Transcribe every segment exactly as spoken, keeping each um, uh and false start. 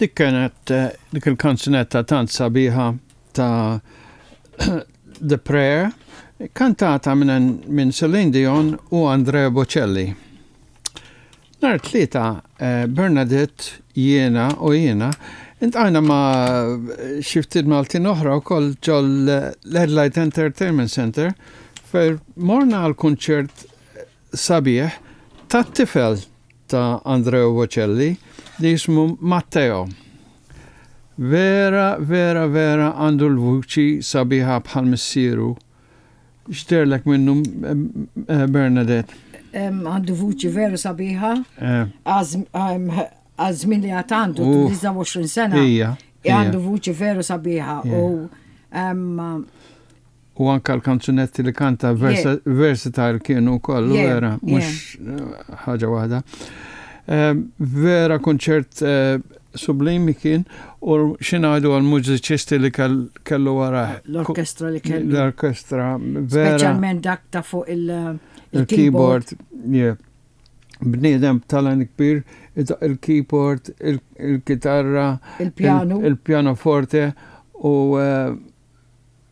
Dik kienet eh, dik il-kanzunetta tant sabiħa ta' The Prayer, kantata minn min Celine Dion u Andrea Bocelli. Nhar it-Tlieta, eh, Bernadette, jiena u jiena, iltqajna ma' xi ftit Maltin oħra u koll ġol l-Headlight Entertainment Center, fejn morna għal kunċert sabiħ ta' tifel ta' Andrea Bocelli li jismu Matteo. Vera, vera, vera għandu l-vuċi sabiħa bħal missieru. X'dehrlek minnu, eh, Bernadette? Għandu vuċi veru sabiħa. Eh. Għaż-żmien li għad għandu, tnejn u għoxrin sena. Ija. Għandu vuċi veru sabiħa. U U anka l-kanzunetti li kanta versatile kienu kollu vera, mhux eh, ħaġa waħda. Vera konċert eh, sublimi kien u x'ngħidu għal-mużiċisti li kellu wara. L-orkestra li kellu. L-orkestra, vera. Speċjalment dak ta' fuq il-keyboard. Yeah. Bniedem talent kbir, il-keyboard, il-kitarra, il-piano, il-pianoforte u eh,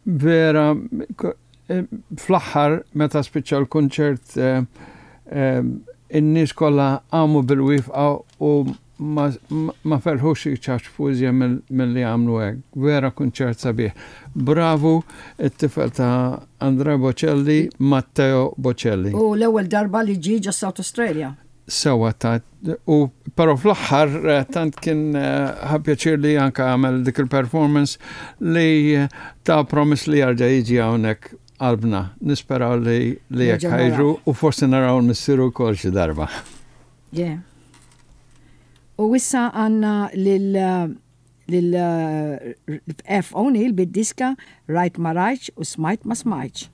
vera eh, fl-aħħar meta spiċċa l-konċert eh, in-nies kollha qamu bil-wieqfa u ma, ma felħux iċapċpu iżjed milli għamlu hekk. Vera kunċert sabiħ. Bravu it-tifel ta' Andrea Bocelli, Matteo Bocelli. U l-ewwel darba li ġie ġo South Australia. Sewa ta' u però fl-aħħar eh, tant kien eh, ħa pjaċir li anka għamel dik il-performance li eh, ta promise li jerġa' jiġi hawnhekk qalbna. Nisperaw li li jekk ħa jiġu u forsi naraw missieru wkoll xi darba. Yeah. U issa għandna lil lil F. O'Neill bid-diska Rajt ma Rajtx u Smajt ma Smajtx.